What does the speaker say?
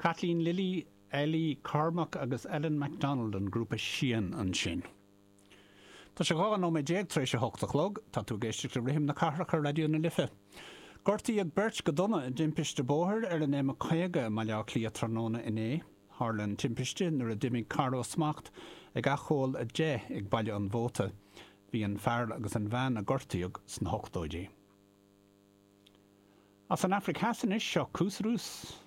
Kathleen Lilly, Ellie Cormack agus Ellen McDonald an grúpa Sian ansin. Tá sé 12 nóiméad tar éis a hocht a chlog. Tá tú ag éisteacht le Rithim na Cathrach ar Raidió na Life. Gortaíodh beirt go dona i dtimpiste bóthair ar an M50 i mBaile Átha Cliath tráthnóna inné. Tharla an timpiste nuair a d'imigh carr ó smacht ag acomhal 10 ag Baile an Mhóta. Bhí an fear agus an bhean a gortaíodh sna hochtóidí. As an Afraic Theas anois, seo Koos Roos.